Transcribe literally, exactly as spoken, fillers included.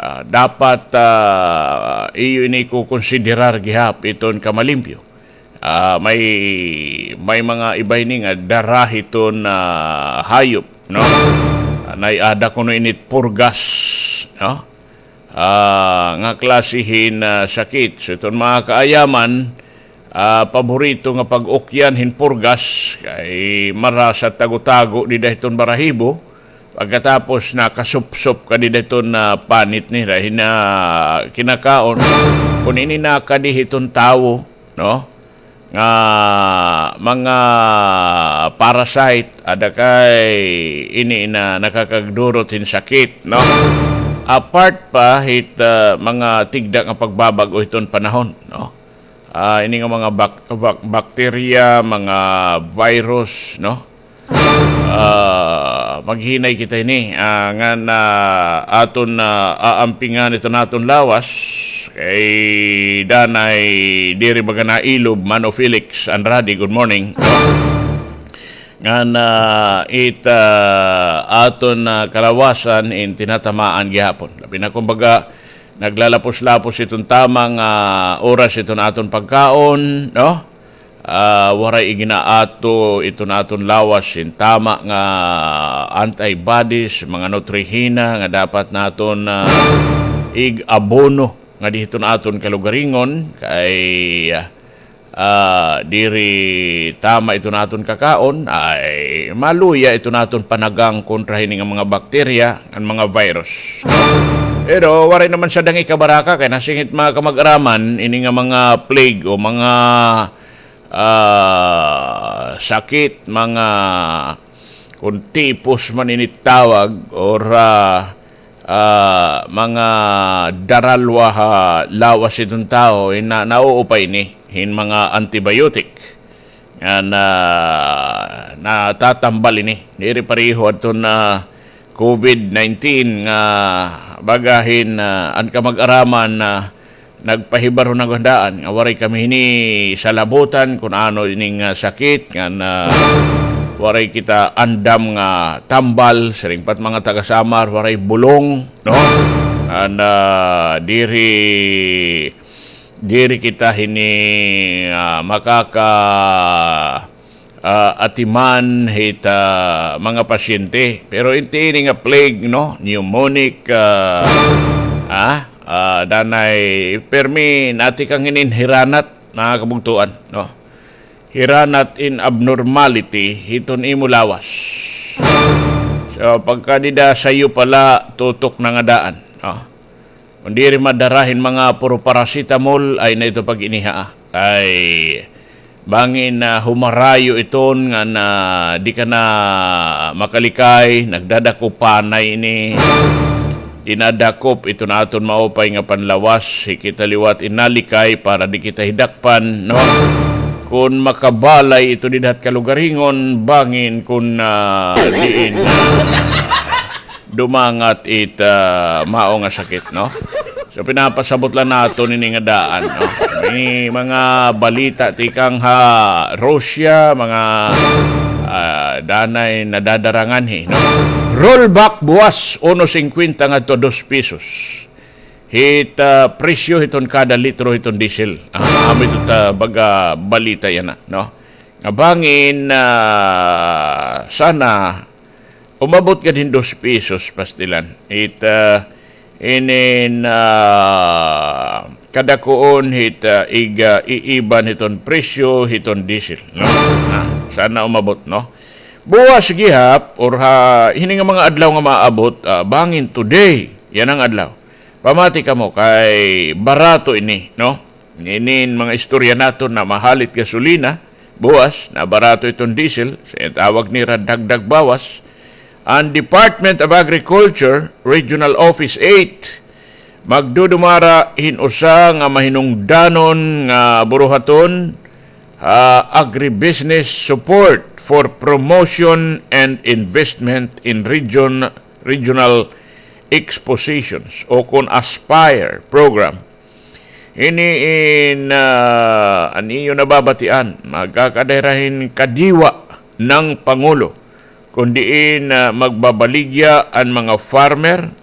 Ah, dapat, ah, iyo ini ikukonsiderar gihap iton kamalimpyo. Ah, may, may mga iba ini nga dara hiton, ah, hayop, no? Ah, naiada kuno init purgas, no? Ah, nga klase hin, ah, sakit. So, iton mga kaayaman, ah, paborito nga pag-ukyan hin purgas, kay marasa tago-tago dida hiton barahibo. Pagkatapos nakasupsop ka dida hiton, ah, panit nira, hin, ah, kinakaon. Kun ini nakadi hiton tawo, no? Nga mga parasite, ada kay ini na nakakagdurot hin sakit, no? Apart pa hit, ah, mga tigda nga pagbabag-o hiton panahon, no? Ah, ini nga mga bak-, bak-, bakterya, mga virus, no? Ah, maghinay kita ini, ah, ngan aton, ah, aampingan iton aton lawas. Kay danay diri baga nailob, Mano Felix Andrade, good morning, no? Ngan, ah, it, ah, aton, ah, kalawasan in tinatamaan gihapon. Labi na kumbaga, naglalapos-lapos iton tama nga oras iton aton pagkaon, no? Ah, waray iginaato iton aton lawas hin tama nga antibodies, mga nutrihina nga dapat naton, ah, ig-abono ngadi hiton aton kalugaringon, kay, ah, diri tama iton aton kakaon, ay maluya iton aton panagang kontra hini nga mga bakterya, an mga virus. Pero waray naman sadang ikabaraka, kay nasingit mga kamag-araman, ini nga mga plague o mga, ah, sakit, mga, kun tipos man ini tawag, or, ah, ah, mga daralwa ha lawas hiton tawo, hin na, nauupay ini hin mga antibiotic. Ngan, ah, natatambal ini. Diri pareho adton, ah, COVID nineteen nga baga hin, ah, an kamag-araman, ah, nagpahibar ho naghandaan nga waray kami hini salabutan kun ano ining, ah, sakit, ngan, ah, waray kita andam nga tambal, siring pa it mga taga Samar, waray bulong, no? Ngan, ah, diri, diri kita hini, ah, makaka, ah, atiman hit, ah, mga pasyente. Pero inti ini nga plague, no? Pneumonic, ah, ah, ah, danay permi natikang hinin hiranat, mga kabugtoan, no? Hiranat in abnormality hiton imo lawas. So, pagka dida sayo pala, tutok na nga daan, no? Kun diri madara hin mga puro paracetamol, ay na ito pag-iniha, ah. Kay bangin, ah, humarayo iton ngan di ka na makalikay, nagdadakop panay ini. Dinadakop iton aton maupay nga panlawas, hi kita liwat in nalikay para di kita hidakpan, no? Kun makabalay ito dida ha kalugaringon, bangin kun, ah, diin, ah, dumangat it, ah, mao nga sakit, no? So, pinapasabot la naton ini nga daan, no? Ini mga balita tikang ha Russia, mga, ah, danay nadadarangan hi, no? Rollback buwas, uno singkwenta ngadto dos pesos. Hit, ah, presyo hiton kada litro hiton diesel. Ah, amo ito ta baga balita yana, no? Nga bangin, ah, sana umabot gad hin dos pesos pastilan. It, ah, inin, ah, kadakuon hit, ah, ig, ah, iiban hiton presyo hiton diesel, no? Ah, sana umabot, no? Buwas gihap, or ha, hini nga mga adlaw nga maabot, ah, bangin today, yana nga adlaw. Pamati kamo kay barato ini, no? Inin mga istorya naton na mahalit gasolina, buwas, na barato iton diesel, sa tawag nira dagdag bawas. An Department of Agriculture, Regional Office eight, magdudumara hin usa nga mahinungdanon nga buruhaton, ah, agribusiness support for promotion and investment in region, regional expositions o kon ASPIRE program. Ini in, ah, an iyo nababatian, magkakadayra hin kadiwa ng Pangulo, kun diin, ah, magbabaligya an mga farmer,